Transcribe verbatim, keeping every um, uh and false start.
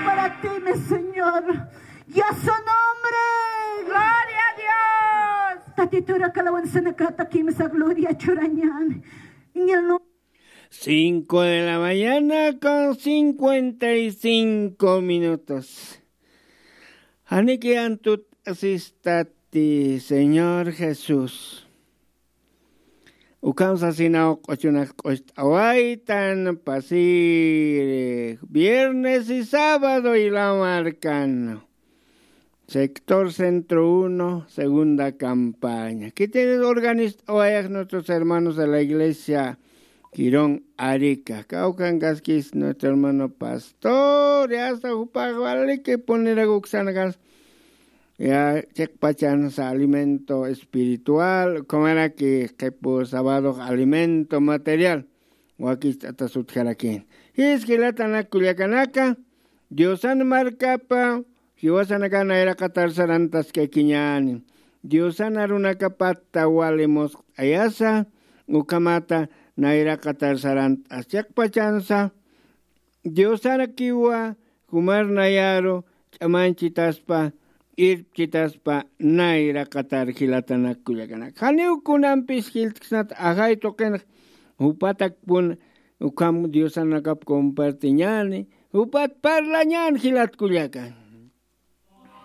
Para ti, mi Señor. Y a su nombre. Gloria a Dios. Tatiturak alawanzanakata kimsa gloria churañan. En el nombre. Cinco de la mañana con cincuenta y cinco minutos. Janiki antut asistati, Señor Jesús. Ukham sasinaw q'uchunak q'ust'awaytan pasiri viernes y sábado y la marcan. Sector Centro Uno, segunda campaña. Kitinis organist'awayax nuestros hermanos de la iglesia Quirón Arica. Kawkankaskis nuestro hermano pastor, ya hasta jupax waliki punirakuksanakas. Ya chiqpachansa alimento espiritual, comeraki qhipu sábado alimento material. Wakicht'atas utjarakin. Jis jilatanak kullakanaka, Diosan markapa jiwasanaka nayraqatar sarantaskakiñäni. Diosan arunakapatta wali musq'ayasa, ukhamata nayraqatar sarant'as chiqpachansa, Diosarakiwa jumar nayaru ch'amanchitaspa, irpchitaspa, nayraqatar jilatanak kullakanak. Janiw kunampis jiltksnat ajay tuqinx, jupatakpun ukham Diosanakap compartiñäni, jupat parlañän jilat kullakan.